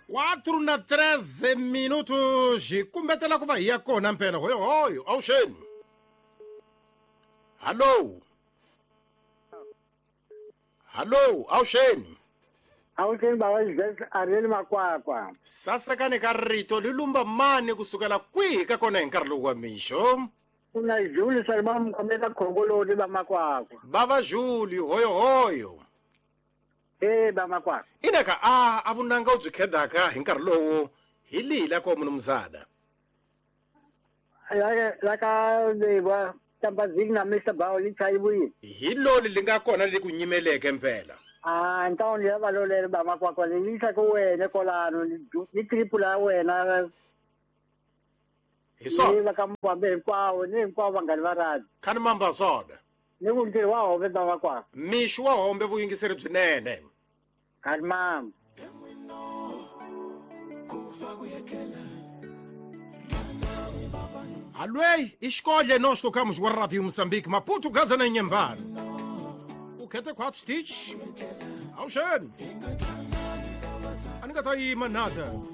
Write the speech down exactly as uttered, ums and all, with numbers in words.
Quatro na treze minutos hi kumbetela ku va hi ya kona mpela hoyohoyo awuxeni hallo hallo awuxeni awuxeni baba Ariel Makwakwa sasekani ka rito li lumba mani kusukela kwihi ka kona hi nkarhi lowu wa mixo kuna Julie Salma mkhomela khongoloni ba Makwakwa bava Julie hoyohoyo eh ba Makwakwa inaka a a vunanga u byi khedaka hi nkarhi lowu hi lihi la ko munumzana la la ka ba tambazini na Mister Bao li chayibuyi hi loli li nga kona li ku nyimeleke mpela ah ntawuni ya valolele ba Makwakwa li yisa ku wena kolano ni triple ya wena hi swona va ka Mbambe hinkwawo ni hinkwavo vanghani va radi khani mamba swona ni ku ntirho wa hombe ba Makwakwa mixo wa hombe vuyingiseri byinene khani mamba Alwei, escolha nós tocamos o Rádio Moçambique, Maputo, Gaza na Inhambane. O que é quatro stitch? Ao cheiro. A nunca tá aí manada.